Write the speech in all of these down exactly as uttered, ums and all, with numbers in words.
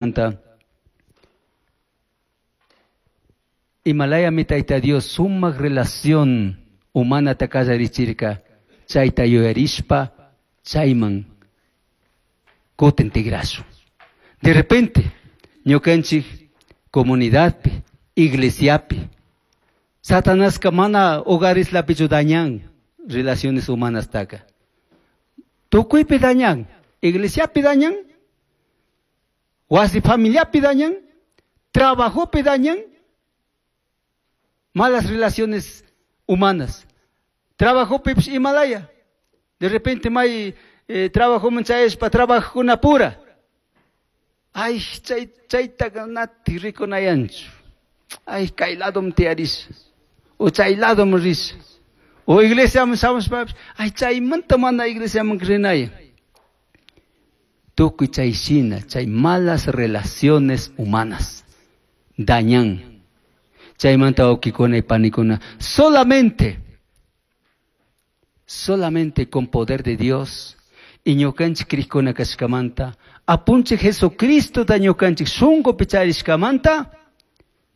Anta Himalaya mi Tayta Dios sumaq relación humanata kallarichirka chayta yuyarishpa chayman kutin tigrashun. De repente ñukanchik comunidadpi, iglesiapi, Satanaska mana hogareslapichu dañan relaciones humanastaka. Tukuypi dañan, iglesiapi dañan, wasi familiapi dañan, trabajopi dañan, malas relaciones humanas. Trabajopi Himalaya. De repente may eh, trabajoman chayashpa trabajukuna pura. Ay, chay chaytaqa nati rikunayanchu. Ay, kay ladom tiyarisha. O chay ladom risha. O iglesiaman shamushpapish, ay, chaymanta mana iglesiaman rinayan. Tukuy chay shina, chay malas relaciones humanas dañan. Chaymanta wawkikuna y panikuna, solamente, solamente con poder de Dios y ñukanchik crikuna kashkamanta, apunchik Jesucristo ñukanchik shunkupi charishkamanta,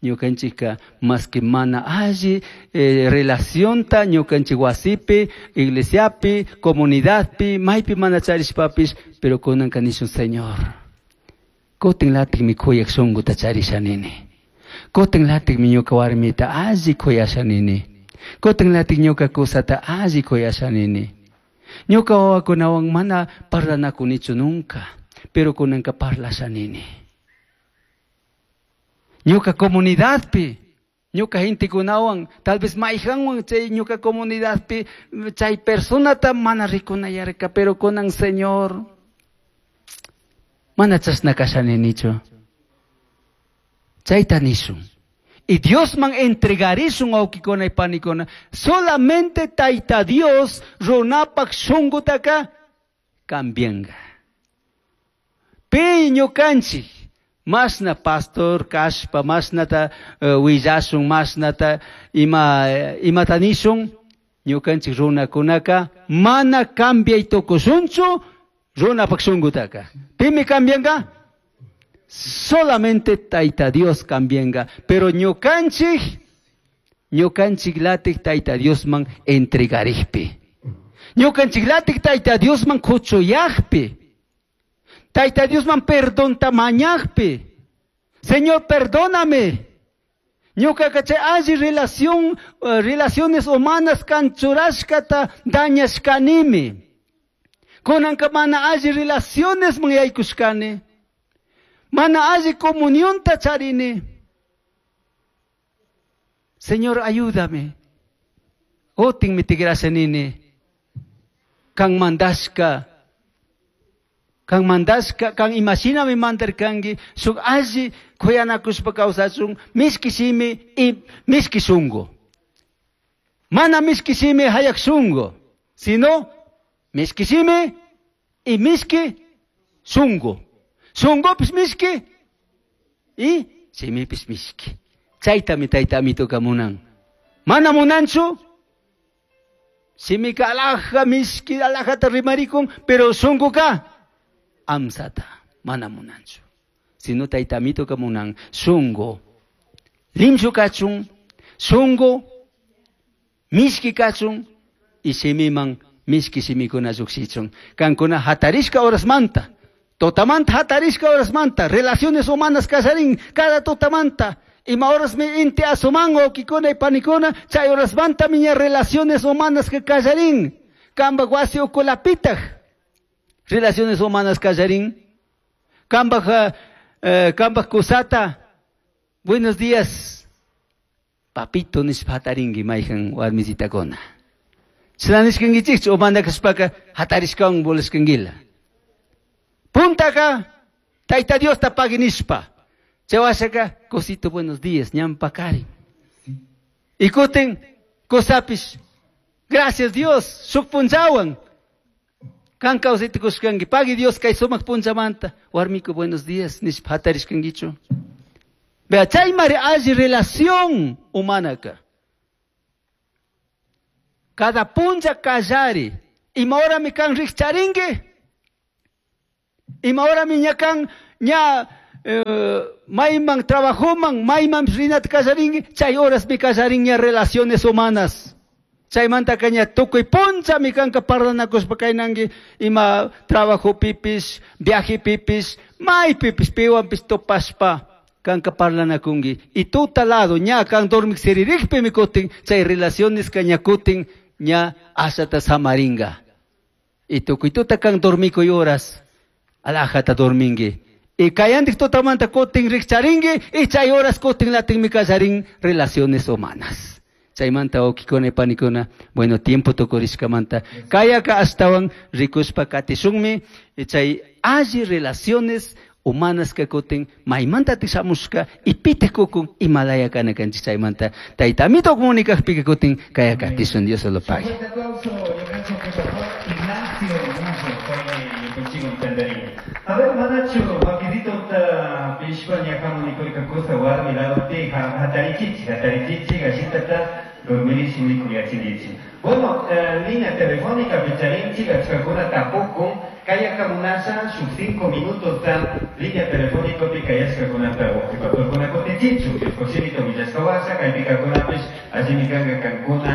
ñukanchikka más que mana alli eh, relacionta ñukanchik wasipi, iglesiapi, comunidadpi, maypi mana charishpapish, pero kunanka nishun Señor, kutin latikmi kuyak shunkuta charisha nini. Kutin latikmi ñuka warmita alli kuyasha nini. Kutin latik ñuka kusata alli kuyasha nini. Ñuka wawakunawan mana parlanakunichu nunca, pero kunanka parlasha nini. Ñuka comunidadpi, ñuka gentekunawan, tal vez mayhanwan chay ñuka comunidadpi, chay personata mana rikunayarka, pero kunan Señor, mana chashna kasha ninichu. Chayta nishun. Y Diosman entregarishun wawkikuna y panikuna. Solamente Tayta Dios runapak shunkutaka cambianga. Pi ñukanchik masna pastor kashpa masnata uh, willashun masnata ima imata nishun ñukanchik runakunaka mana cambiay tukushunchu runapak shunkutaka. Pimi cambianga? Solamente Tayta Dios cambianga. Pero ñukanchik, ñukanchik latik Tayta Diosman entregarikpi. Ñukanchik latik Tayta Diosman kuchuyakpi. Tayta Diosman perdonta mañakpi. Señor, perdóname. Ñuka chay alli relación, uh, relaciones humanas kan churashkata dañashkanimi. Kunanka mana alli relaciones man yaykushkani. Mana alli comunionta charini. Señor, ayúdame. Otin mi tigrasha nini. Kan mandashka. Kan mandashka, kan imashinami mandarkanki, shuk alli kuyanakushpa kawsachun, mishki shimi y mishki shunku. Mana mishki shimi hayak shunku, sino mishki shimi y mishki shunku. Shunkupish mishki y shimipish mishki. Chaytami Tayta Amituka munan. Mana munanchu, shimika alhaja mishki alhajata rimarikun, pero shunkuka amsata mana munanchu. Sino Tayta Amituka munan shunku limshu kachun, shunku mishki kachun y shimiman mishki shimikuna llukshichun. Kankuna hatarishka horasmanta, tutamanta hatarishka horasmanta, relaciones humanas kallarin cada tutamanta. Ima horasmi inti asuman wawkikuna y panikuna, chay horasmanta miña relaciones humanas que kallarin. Kambak wasi ukulapitaj relaciones humanas kallarin. Kambak, eh, kambak kusata, buenos días, papito nishpa hatarinki mayhan warmisitakuna. Chashna nishkankichikchu o mana kashpaka hatarishkawan volashkankila. Puntaka Tayta Diosta pagui nishpa. Chay washaka, cosito buenos días, ñampakari. Y kutin, kusapish, gracias Dios, shuk punchawan. Kan kawsayta kushkanki, pagui Dios kay sumak punchamanta. Warmiku buenos días, nishpa hatarishkankichu. Vea, chaymari alli relación humanaka. Cada puncha kallari. Ima horami kan rikcharinki. Ima horami ña kan ña eh, mayman trabajoman, mayman rinata kallarinki, chay horasmi kallarinña relaciones humanas. Chaymanta kaña tukuy punchami kanka parlanakushpa kaynanki ima trabajo pipis, viaje pipis, maypipis piwanpis tupashpa kanka parlanakunki. Y tuta lado ña kan dormik siririkpimi kutin, chay relaciones kaña kutin ña ashata samaringa. Y tukuy tuta kan dormikuy horas, alajata dorminki. Y kayantik tutamanta kutin rikcharinki, y chay horas kutin latinmi kallarin relaciones humanas. Chaymanta wawkikuna y panikuna, bueno, tiempo tukurishkamanta. Kayaka ashtawan rikushpa katishunmi, y chay alli relaciones humanas ka kutin maymanta tishamushka y pitik kukun imalaya kana kanchik chaymanta. Tayta amito comunicakpika kutin kaya katishun, Dios se lo pague. Fuerte aplauso, yo pienso que pastor Ignacio Muso fue contigo entendería. A ver, manachu, wakidito ta pishpa ñakamu nikuy cosa warmi lado ti hatarichichi, hatarichichi, gashitata dormirishi nikuyachirichi. Bueno, eh, línea telefónica picharinchi, gachkakuna tapukun, kaya kamunasha, sus cinco minutos tan línea telefónica pi kayashkakunata wawqipapurkuna kutichichu, Diosposhimita willashkawasha, kaypikakunapish allimi kanka kankuna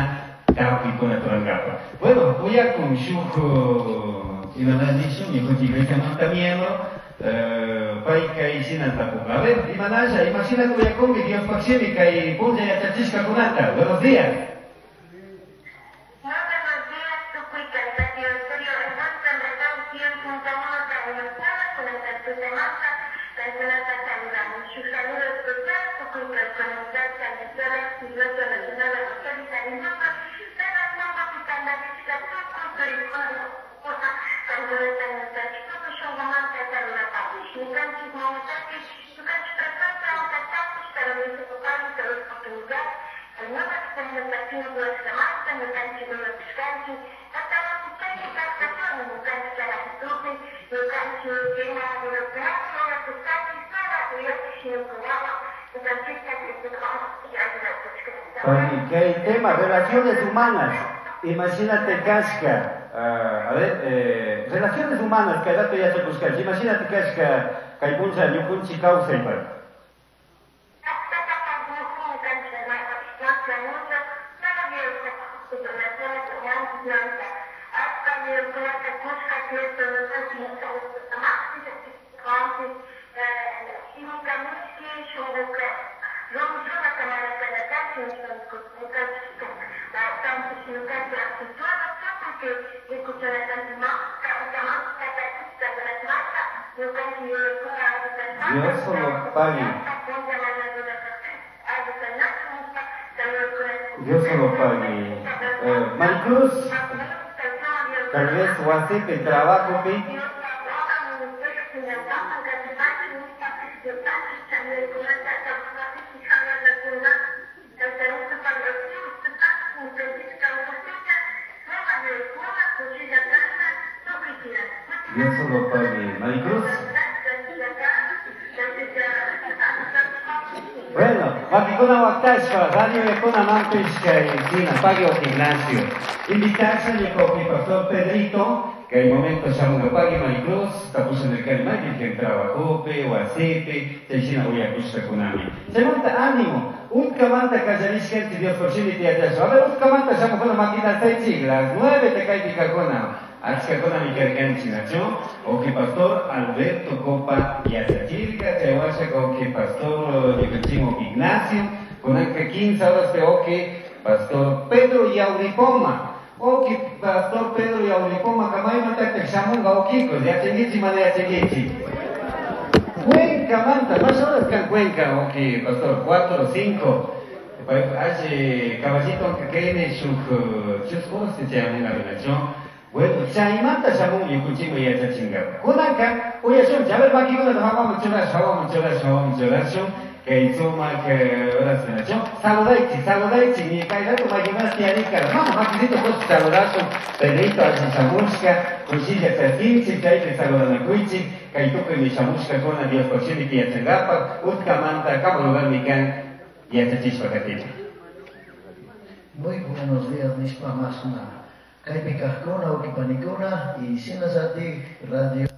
tapuykuna turangapa. Bueno, uyakun shuk imanalishun, ñukanchik iglesiamanta miembro, eh, pay kay shina tapunka. A ver, imanasha, imashina uyakunki Diospaq shimi kay punlla yachachishkakunata. Buenos días. Muy buenos días, tukuy kay Radio Estéreo Revuelta, en verdad, cien punto uno, Trabueltada, con el Tertutemanta, Kaykunata saludamos. Su saludo especial, tukuy kay comunidad San Iglesia Nacional Apostólica de Lima, Penas Mama, Pitandarishka, tukuy turikuna, Kaykunata ñukanchik shunqumanta saludaparish. Ñukanchik mamatapish, ñukanchik tratata, tatapish, para nuestro papá, nuestra oportunidad, nueva comunicación nuestra ñukanchik runapishkanchik, tatawapichaypi kawsakuni, ñukanchik carajitupi, ñukanchik ima runakunata, runakuskanchik, para uyapish ñukawawa, ñukanchikta Cristoqa ayudakushka. Oye, ¿qué tema? Relaciones humanas. Imagínate kashka, uh, a ver, eh, relaciones humanas, kay rato yachakushkanchik. Imagínate kashka, kay puncha ñukunchik kawsaypaq. Dios solo pague. Dios solo pague. Eh, Maricruz, tal vez wasipi trabajopi. Dios solo pague. Maricruz. Bueno, wakikuna waktashpa, radio yakuna mampish kay sina pague o gimnasio. Invitarse ñuka pastor Pedrito, que el momento shamunga pague Maricruz, tapusha en el Carimaki, que trabajope, wasipe, chay shina uyakushka kunami. Chaymanta ánimo, utkamanta kallarishkanchik Dios por shimi tiyachashpa. A ver, utkamanta shamujuna maquina saychik, las nueve te kaypikakuna. Achkakunami karkanchik, nachu? Oki pastor Alberto Copa yachachirka, chaywasha oki pastor ñukanchik Ignacio, kunanka quince horas de oki pastor Pedro Yauripoma. Oki pastor Pedro Yauripoma kamaymantataq shamunqa okikos, yachankichik mana yachankichik. Cuenca manta, más horas kan Cuenca, oki pastor, cuatro o cinco. Ashi caballito que kayne shuk chusku horas chayamunqa rinachu. Bueno, chaymanta shamun ñukunchikman yachachinkapak. Kunanka uyashunchik, a ver, makikunata hawaman churashun, hawaman churashun, hawaman churashun, kay sumak horas rinachu. Saludaychik, saludaychik, ni kay rato makikunata tiyarikara. Vamos, makisito kush saludashun, Pedrito ashi shamushka, kushilla chaskinchik, chaypi saludanakuychik, kay tukuymi shamushkakuna Diospaq shimita yachankapak, utkamanta kama lugarmi kan yachachishpa katichik. Muy buenos días, nishpa masuna. Kaypi kaqkuna, ukipanikuna y shinallatik radio